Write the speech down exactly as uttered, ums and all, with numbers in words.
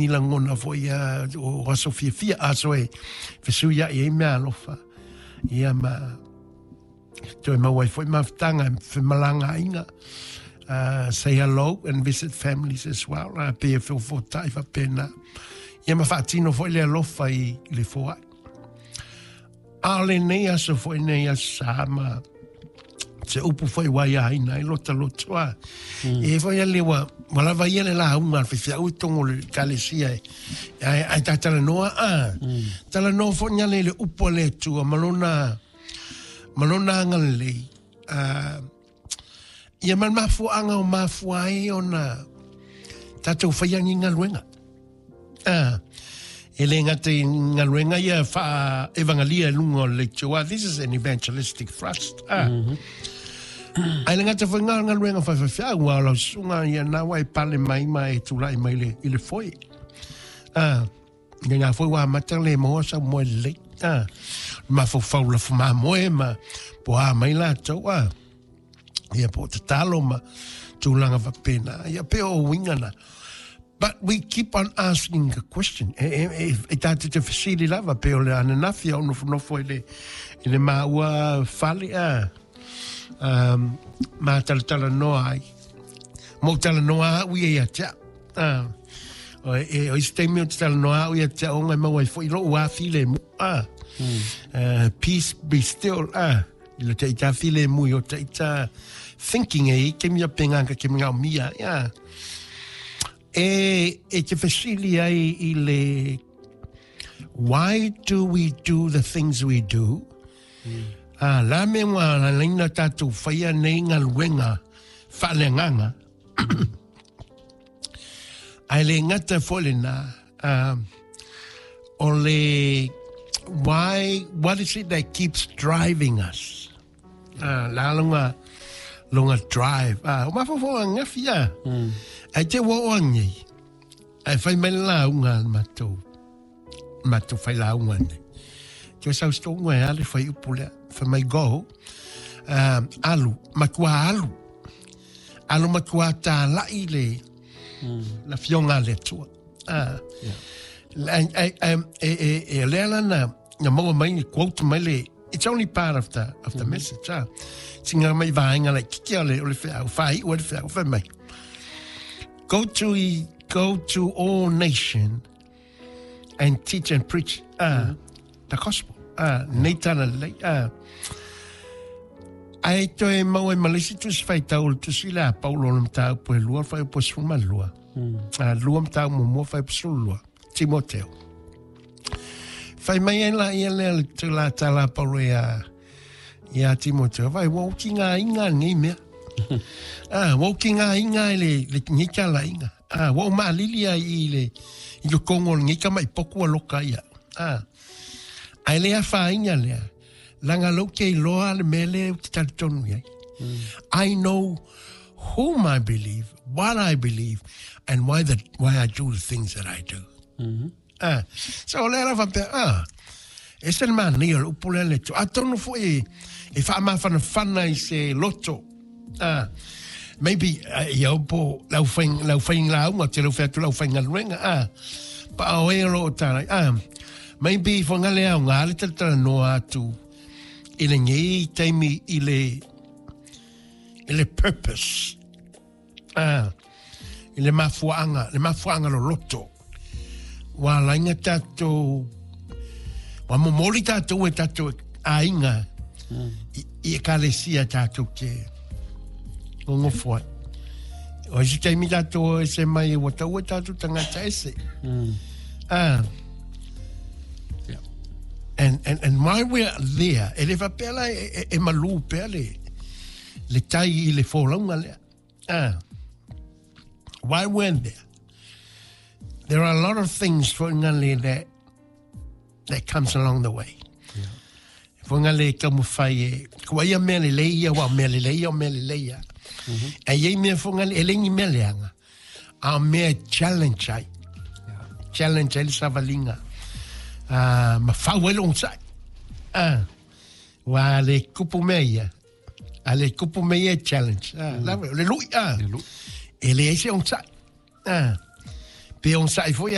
ni lagona foi ia o aso fiafia, aso e fesuia'i ai meaalofa ia ma toe maua ai foi mafutaga e femalagaaiga. uh, say hello and visit families as well, uh, pe e feofoota'i faapena ia ma faatino foi le alofa i le foa'i a o lenei aso foi nei aso sa ma se upu foi ua aiaina ai lota loto a. E foi ale ua ua lava ia le lauga a le faifeau i totonu o le ekalesia e ae ae tatalanoa a. Talanoa foi ni ale i le upu a le Atua ma lona ma lona agalelei. A ia ma le mafuaaga o mafua ai ona tatou faia ni galuega. Ah, e le gata i galuega ia faa-evagalia i luga o le leitio. This is an evangelistic thrust. Ah. Mm -hmm. Ai le gata foi ngā galuega faifeau ua o lau susuga ia na ua e pale mai ma e tulai mai le, i le foe. Ah, ia ngā foi ua amata le maua sau moe lelei. Ah, mafaufau lafu mamoe ma po a mai latou. Ah, ia po o tatalo ma tulaga faapena. Ia pe o uiga na. But we keep on asking the question. E, e, e, e tātou te fesili lava pe o le ananafi au nofonofo i le, i le maua fale a um, ma talatalanoa ai. Mo talanoa au ia ia te au. Ah. O, e, o isi taimi o te talanoa au ia te au ngai maua ai foi lou afi le mu. Ah. Mm. Uh, peace be still. Ah. I le te ita file mu i o te ita thinking e i ke mia penga ka ke mea mia. Yeah. E, e te fesili ai i le why do we do the things we do? Mm. Ah, la me ngā la leina tātou whaia nei galuega faaleagaga. Ae le gata foi lenā, um, o le why, what is it that keeps driving us? Ah, la longa, longa drive. Ah, o mafaufau angafi a. Mm. Ai te ua o angi. Ai fai mai le lauga a le matou, matou fai lauga nei. Te sau stonga e ale fai upu lea. Fai mai go, um, alu, matua alu. Alu matua tāla'i le, mm. la fioga a le Atua. Ah. Yeah. E, e, e, e, e lea lana, na maua mai ni quote mai le, it's only part of the, of the mm -hmm. message. Ah. Singa mai vaenga lai kiki o le, o le feau, whai o le feau, fai mai. Go to, go to all nation and teach and preach uh, mm -hmm. the gospel. Uh, nei tala lelei. Uh, Ae toe maua ai ma le isi tusi faitau o le tusi lea a Paulo o le mataupu e lua, fuaiupu e sefulu ma lua. Mm. Uh, lua mataupu muamua, fuaiupu sefulu lua. Timoteo. Fai mai ai la ia lea le tula tala a Paulo ia, ia Timoteo. Vai, ua ou tigaina lenei mea. Ah, ua ou tigaina i le, le nei talaiga. Ah, ua ou maalili ai i le, i totonu o lenei tama'i potu ua loka ia. Ah, ae le afaina lea, leaga lou te iloa le mea lea ou te talitonu i ai. I know whom I believe, what I believe, and why, the, why I do the things that I do. Mm -hmm. Ah, so o lea la faapea, ah, e se le manaia o le upu lea le Atua. Atonu foi e, e faamafanafana i se loto. Ah, maybe uh, ia po lau fai lau fai lauga te lau fai atu lau faigaluega ah pa o e o lo o talai ah maybe fo ngale au ngā le talatalanoa atu i lenei taimi i le i le purpose ah i le mafuaaga le mafuaaga loloto ua ala ai ona tatou ua momoli tatou e tatou aiga i, i ekalesia tatou te nonofo ai. O isi taimi tatou o ese mai ua taua tatou tagata ese. Mm. Ah. Yeah. And, and, and while we're there, e le faapea la e, e, e malū pea le, le tai i le folauga lea. Ah. While we're there, there are a lot of things for ngale that, that comes along the way. Yeah. Fo ngale taumafai e, kua ia mea lelei ia, ua o mea lelei ia, o mea lelei ia. E iai mea fo ngale, e le ni mea leaga, a o mea e challenge ai. Yeah. Challenge ai le savaliga. Ah, ma fau ai le onosai. Ah, ua le kupu mea ia. A le kupu mea ia e challenge. Ah, mm. Lava, o le lui, ah. Le lui. E leai se onosai. Ah, pe onosai foi